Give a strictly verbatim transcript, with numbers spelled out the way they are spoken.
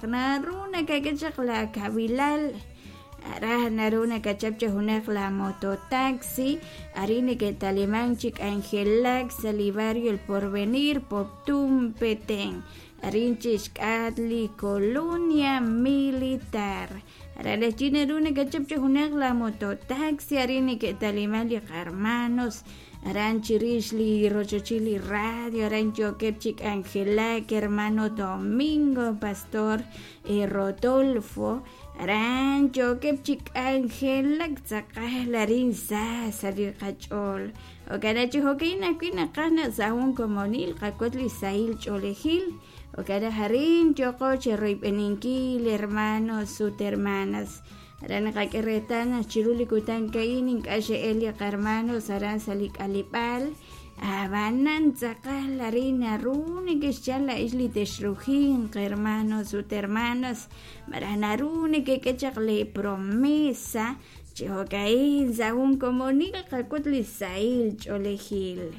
Naru nakak'e chaq la kawilal raj naru nakachap chaq junaq la mototaxi arin neke'taliman chi k'anjelak sa' li barrio El Porvenir, Poptún, Petén, arin chi xk'atq li Colonia Militar. Aran naru nakachap chaq junaq la mototaxi arin neke'taliman li qarmanos aran chirix li rochochil li radio aran yookeb' chi k'anjelak hermano Domingo, Pastor Rodolfo, aran yookeb' chi k'anjelak tz'aqal arin sa sa' li qach'ool. Jo'kan chi jo'ka'in ajwi' naqaj naq sa' jun komonil qawotz li sahil ch'oolejil. Jo'kan naq arin yooqo chiroyb'eninkil hermanos ut hermanas. Aran naqak'e reetal naq chiru li kutan ka'in ink'a' xe'el li qarmanos aran sa' li k'aleb'aal ab'anan tz'aqal arin naru neke'xyal la'ix li texrujinq hermanos ut hermanas malaj naru nekek'e chaq li promesa chi jo'ka'in sa' jun komonil qak'ut li sahil ch'oolejil.